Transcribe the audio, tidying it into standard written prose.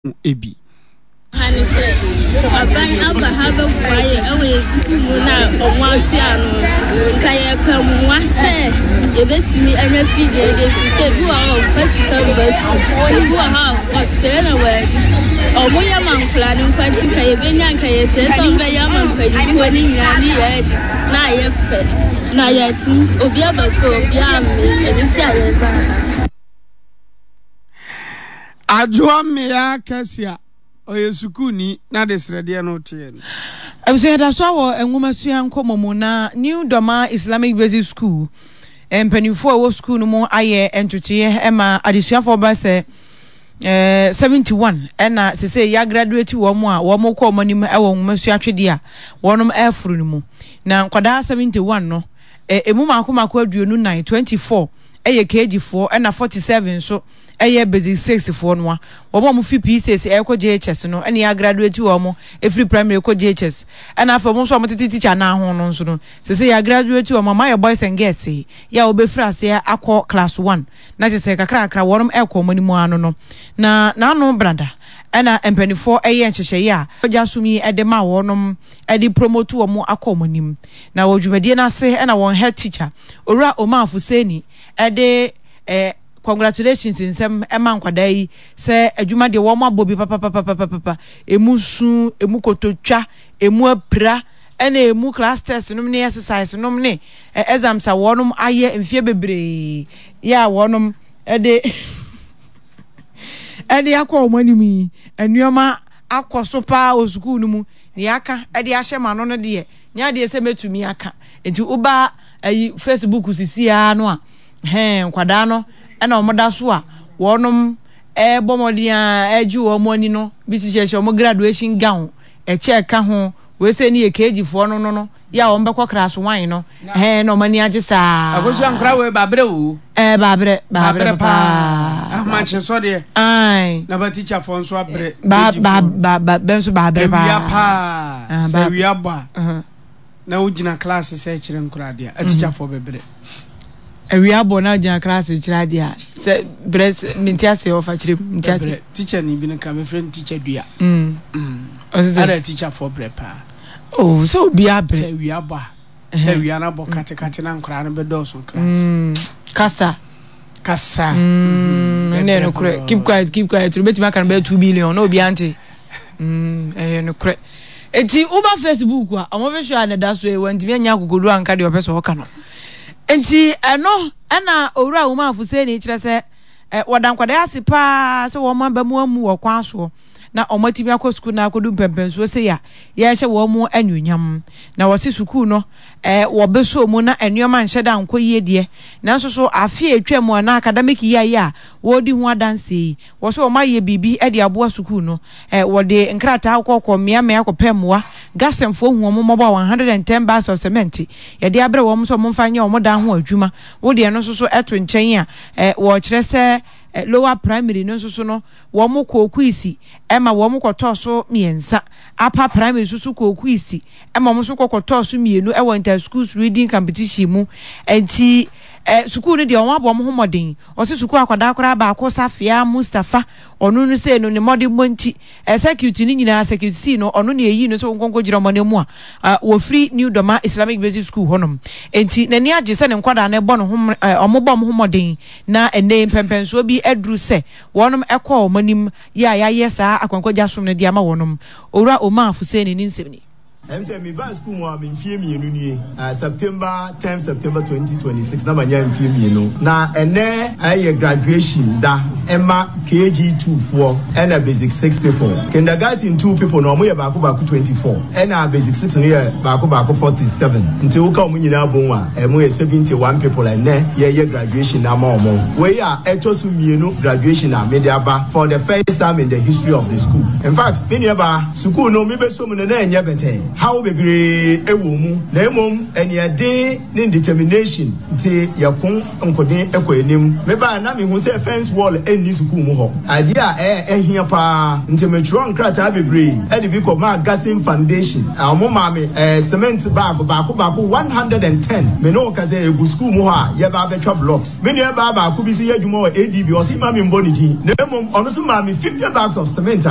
Bi. Ha ne sɛ, aban aba ha bɛboa yɛn wɔ yɛn sukuu mu no a ɔmo ate ano no. Nka yɛpɛ mmoa sɛ yɛbɛtumi anya fidie de ɛfiri sɛ ebi wɔ hɔ a ɔmfa sika mba sukuu, ebi wɔ hɔ a ɔsɛe na wadi. Ɔmo yɛ ma nkwadaa no nkwa nti nka yɛbɛnya nka yɛsrɛ sɛ ɔmo bɛyɛ ama mpanyinfoɔ no nyinaa ne yɛn adi na ayɛ fɛ na yɛatumi obi aba sukuu obi ammee ɛno nti a yɛba ha. Adwoa Mmea Kɛsia, ɔyɛ sukuuni na adesrɛdeɛ no teɛ no. Abusua yɛda so wɔ nwomasua nkɔmmɔ mu na New Dormaa Islamic Basic School mpanimfoɔ a ɛwɔ sukuu no mu ayɛ ntotoeɛ ma adesuafoɔ bɛyɛ sɛ 71 ɛna sese yɛagraduate wɔn a wɔn kɔ wɔn anim wɔ nwomasua atwedeɛ a wɔn ɛreforo no mu. Na nkwadaa 71 no emu mako mako 24, 24 yɛ KG foɔ ɛna 47 nso yɛ basic 6 foɔ noa. Wɔn a wɔfi P6 ɛrekɔ JHS no ɛna yɛagraduate wɔn ɛfiri primary kɔ JHS. Ɛna afei wɔn nso a wɔtete teacher nan ho no nso no sese yɛagraduate wɔn ama ayɛ boys and girls yɛ a wɔbɛfiri aseɛ akɔ class 1 na kyerɛ sɛ kakrakra wɔn ɛrekɔ wɔn anim ara no no. Na n'ano brada ɛna mpanimfoɔ ɛyɛ nhyehyɛeɛ a wɔgya som yi ɛde ma wɔn ɛde promote wɔn akɔ wɔn anim. Na wɔ dwumadie no ase na wɔn head teacher, Owura Omar Fuseni de eh, congratulations nsɛm ma nkwadaa yi sɛ adwuma deɛ wɔn abɔ bi papapapapapa, emu su, emu kototwa, emu apira, ɛna emu class test nom ne exercise nom ne eh, exams a wɔn ayɛ mfeɛ bebree yɛ a wɔn de ɛde akɔ wɔn anim yi, nneɛma akɔ so paa wɔ sukuu no mu. Nea aka de ahyɛ m'ano no deɛ, nyɛ adeɛ sɛ mɛtumi aka. Nti woba ayi Facebook sisi ara no a, hɛn nkwadaa no ɛna wɔn da so a wɔnom ɛrebɔ mmɔden a ɛregye wɔn ani no bi hyehyɛhyɛ wɔn graduation gown, ɛkyɛ ɛka ho, wei sɛ ne yɛ KG foɔ no no no, yɛ a wɔn bɛkɔ class one no, hɛn na wɔn ani agye saa. Akosua nkora wei babrɛ o. Ɛɛ babrɛ babrɛ paa. Ahomakye sɔ deɛ. Ayi. Na ba teacher fɔ nso abrɛ. Ba ba ba ba bɛ nso babrɛ paa. Ewia paa. Sɛ ewia bɔ a. Na wogyina class sɛ kyerɛ nkora adeɛ a teacher fɔ bɛbrɛ. Awia bɔ na gyina class kyerɛ adeɛ a sɛ brɛ mente ase ɔfa kyerɛ mu mente ase. Brɛ teacher ni bi no ka mefrɛ no teacher dua. Mm. Ɔsɛ sɛ. Ada teacher fɔ brɛ paa. Oh sɛ obi abrɛ. Sɛ awia bɔ a. Sɛ awia no abɔ katekate na nkoraa no bɛdɔɔso class. Mm. Kasa. Kasa. Mm. Ɛnna ɛyɛ nokorɛ. Keep quiet keep quiet. Obetumi aka no bɛyɛ 2 billion na obi ante. Mm. Ɛyɛ nokorɛ. Eti woba Facebook a ɔmo fi so a na ɛda so yi wɔntumi anya akokoduro anka deɛ ɔpɛ sɛ ɔka no. Nti ɛno ɛna owura Umar Fuseni kyerɛ sɛ wɔda nkwadaa ase paa sɛ wɔn aba mu amu wɔ kwan soɔ na wɔatumi akɔ sukuu no akɔdu mpɛmpɛnsoɔ sei a yɛrehyɛ wɔn mu anuonyam. Na wɔse sukuu no wɔbɛsɔ mu na nneɛma nhyɛ da nkɔ yie deɛ, nanso so afe a ɛtwa mu anaa academic year yi a wɔredi ho adanseɛ yi, wɔse wɔayɛ biribi de aboa sukuu no. Wɔde nkrataa kɔkɔ mmeammea kɔpɛ mmoa. Gasɛmfoɔ hu wɔn mmɔbɔ a 110 bags of cement yɛde abrɛ wɔn sɛ wɔmfa nyɛ wɔn dan ho adwuma. Wo deɛ no nso so to nkyɛn a, wɔkyerɛ sɛ lower primary no nso so no, wɔn kɔɔ kuisi ma wɔn kɔtɔɔ so mmiɛnsa. Upper primary nso so kɔɔ kuisi ma wɔn nso kɔ kɔtɔɔ so mmienu wɔ inter schools reading competition mu. Nti sukuu no deɛ wɔn abɔ wɔn ho mmɔden. Wɔsi sukuu akwadaa koraa baako Safia Mustapha, ɔno no sei no ne mmɔdenbɔ nti circuit no nyinaa circuit C no ɔno na ɛyii no sɛ wɔnkɔ nkɔgyina wɔn ananmu a wɔfiri New Doma Islamic Basic School hɔnom. Nti n'ani agye sɛ ne nkwadaa no bɔ ne ho wɔn bɔ wɔn ho mmɔden na ɛnnɛ yi mpɛmpɛnsoɔ bi aduru sɛ wɔnom kɔ wɔn anim yɛ a yɛayɛ saa akwankwagya som no de ama wɔnom. Owura Omar Fuseni ne nsɛm ni. Ɛm sɛ mebaa sukuu mu a me mfeɛ mmienu nie, September 10 September 2026 na manya mfeɛ mmienu. Na ɛnɛ ɛyɛ graduation da ɛma KG 2 foɔ ɛna basic 6 people. Kindergarten 2 people no ɔmo yɛ baako baako 24 ɛna basic 6 no yɛ baako baako 47. Nti woka ɔmo nyinaa bom a ɛmo yɛ 71 people ɛnɛ yɛyɛ graduation ama ɔmo. Wei a ɛtɔ so mmienu graduation a mede aba for the first time in the history of the school. In fact me nua baa, sukuu no mebɛsɔ mu no na ɛnyɛ bɛtɛɛ. Haw bebree wɔ mu na mmom aniɛden ne determination nti yɛko nkoden kɔ anim. Mebae na mehu sɛ fence wall nni sukuu mu hɔ. Adeɛ a ɛhia paa nti metwerɛɔ nkrataa bebree de bi kɔmaa Gassin Foundation. Wɔmaa me cement bag baako baako 110. Me ne wo kasa yi ɛgu sukuu mu hɔ a yɛba abɛtwa blocks. Me nua baa baako bi nso yɛ adwuma wɔ ADB, ɔse mma me mmɔ ne din na mmom ɔno nso maa me 50 bags of cement a.